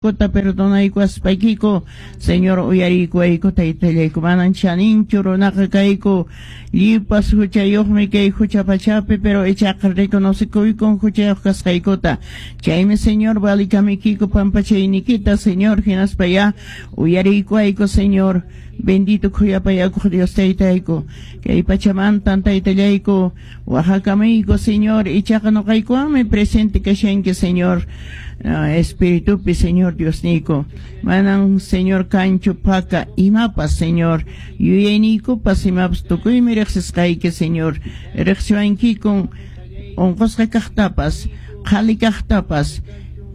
Kuta perdonaykuwaspaykiku, Señor, uyariykuwayku, taytallayku. Manan chaninchu runaqa kayku, lliwpas huchayuqmi kay hucha pachapi, pero ichaqa reconocekuykun huchayuq kasqaykuta. Chaymi, Señor, valikamiykiku pampachaynikita, Señor, hinaspa ya uyariykuwayku, Señor. Bendito khuyapayakuq Dios taytayku, kay pachamantan, taytallayku, wajakamuyku, Señor, ichaqa noqaykuwanmi presente kashanki, Señor, espiritupi, Señor Diosniyku. Manan, Señor, kanchu paka imapas, Señor, yuyayniykupas imapas, tukuymi riqsisqayki, Señor. Riqsiwankikun onqosqa kaqtapas, qhali kaqtapas,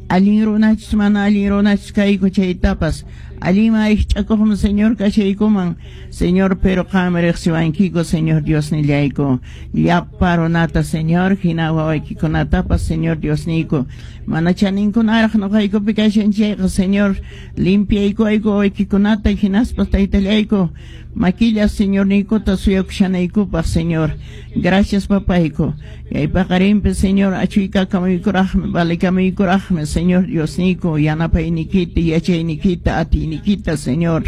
allin runachus mana allin runachus kayku chaytapas, allinman rikch'akuqmi, Señor, kashaykuman, Señor, pero qanmi riqsiwankiku, Señor Diosnillayku. Llapa runata, Señor, hina wawaykikunatapas, Señor Diosniyku, mana chaninkunaraq noqaykupi kashan chayqa, Señor, limpiaykuwayku wawaykikunata, hinaspa, taytallayku, makilla Señorniykuta suyakushanaykupaq, Señor. Gracias, papayku. Kay paqarinpi, Señor, achuykakamuykuraqmi, valikamuykuraqmi, Señor Diosniyku, yanapaynikita, yachaynikita, atiynikita, Señor.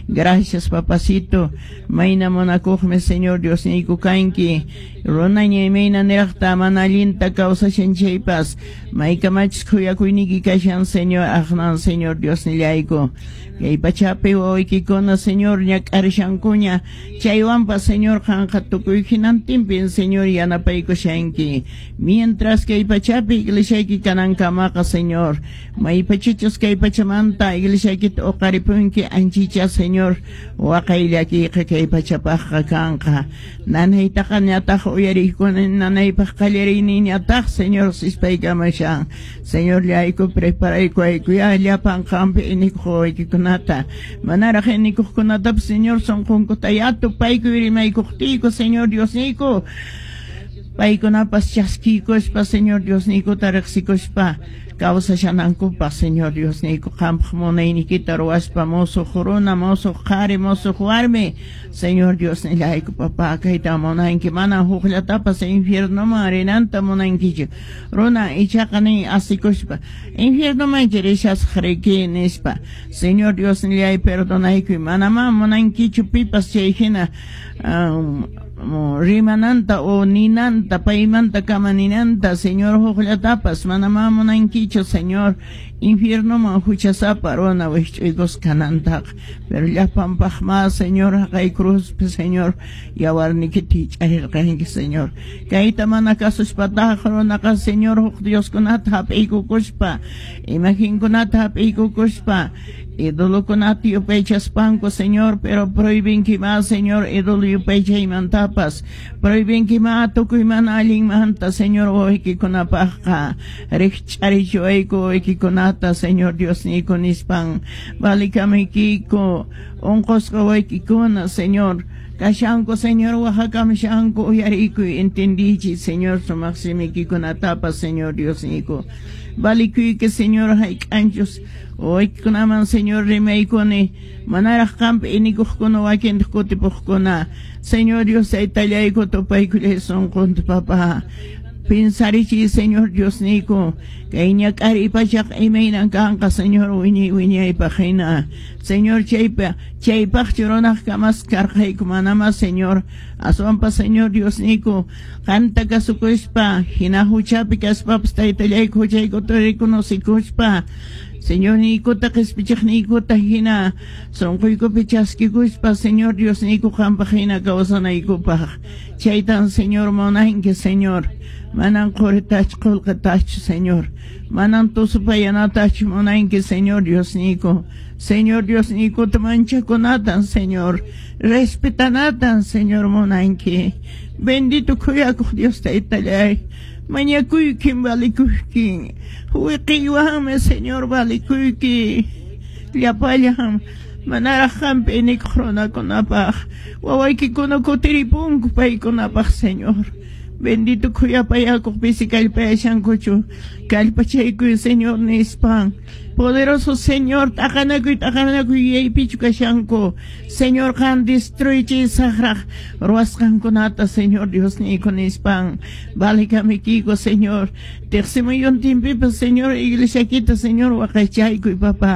Gracias, papacito. Mayna munakuqmi, Señor Diosniyku, kanki. Runaña imayna niraqta mana allinta kawsashan chaypas, maykamachus khuyakuyniyki kashan, Señor, aqnan, Señor Diosnillayku. Kay pachapi wawaykikuna, Señor, ñak'arishankuña, chaywanpas, Señor, qanqa tukuy hinantinpin, Señor, yanapaykushanki. Mientras kay pachapi iglesiayki kanankamaqa, Señor, maypachachus kay pachamanta iglesiaykita uqaripunki, anchicha, Señor, waqay llakiyqa kay pachapaqqa kanqa. Nanaytaqa ñataq uyariykuni, nanaypaq qallariyninñataq, Señor, sispaykamashan. Señor llayku, preparaykuwayku ya llapan qampi inikuq wawaykikunata, manaraq inikuqkunatapas, Señor, sunqunkuta ya tupaykuy rimaykuqtiyku, Señor Diosniyku, paykunapas chaskiykuspa, Señor Diosniykuta riqsikuspa kawsashanankupaq, Señor Diosniyku, qampaq munaynikita ruwaspa, musuq runa, musuq qhari, musuq warmi, Señor Diosnillayku, papá, kayta munanki, mana hukllatapas infiernoman rinanta munankichu. Runa ichaqa nin asikuspa, "Infiernoman rishasaq riki", nispa. Señor Diosnillay, perdonaykuy, manamá munankichu pipas chay hina rimananta o ninanta, paymanta kama ninanta, Señor, hukllatapas manamá munankichu, Señor, infiernoman huchasapa runa wikch'uykusqa kanantaqa. Pero llapanpaqmá, Señor, haqay cruzpi, Señor, yawarnikita hich'arirqanki, Señor. Kayta mana kasuspataq runaqa, Señor, huk dioskunata hap'iykukuspa, imagenkunata hap'iykukuspa, idolokunata yupaychaspanku, Señor, pero prohibinkimá, Señor, ídolo yupaychaymantapas, prohibinkimá tukuy mana allinmanta, Señor. Wawaykikunapaqqa rikch'arichiwayku wawaykikunata, Señor Diosniyku, nispan valikamuykiku. Unqusqa wawaykikuna, Señor, kashanku, Señor, waqakamushanku, uyariykuy, entendiychis, Señor, sumaq simiykikunatapas, Señor Diosniyku. Valikuyki, Señor, hayk'anchus wawaykikunaman, Señor, rimaykuni, manaraq qampi inikuqkuna, wakintaq kutipuqkuna, Señor Dios taytallayku, tupaykullay sunqunta, papá. Pensarichiy, Señor Diosniyku, kay ñak'ariy pachaqa imaynan kanqa, Señor, wiñay wiñaypaq hina. Señor, chaypa chaypaqchu runaq kamasqa karqayku? Manamá, Señor. Aswanpas, Señor Diosniyku, qanta kasukuspa, hina huchapi kaspapas, taytallayku, huchaykuta reconocikuspa, Señorniykuta qispichiqniykuta hina sunquykupi chaskikuspa, Señor Diosniyku, qampaq hina kawsanaykupaq. Chaytan, Señor, munanki, Señor. Manan quritachu qullqitachu, Señor. Manan tusupayanatachu munanki, Señor Diosniyku. Señor Diosniykuta manchakunatan, Señor. Respetanatan, Señor, munanki. Bendito khuyakuq Dios taytallay. Mañakuykin, valikuykin. Wiqiywanmi, Señor, valikuyki. Llapallan manaraq qampi inikuq runakunapaq, wawaykikuna kutiripunku paykunapaq, Señor. Bendito khuyapayakuq pisi kallpayashankuchu. Kallpachaykuy, Señor, nispan. Poderoso Señor, t'aqanakuy t'aqanakuy yuyaypichu kashanku. Señor, qan destruye saqraq ruwasqankunata, Señor Diosniyku, nispan. Valekamikiyku, Señor. Teqsimuyuntinpipas, Señor, iglesiakita, Señor, waqaychaykuy, papá.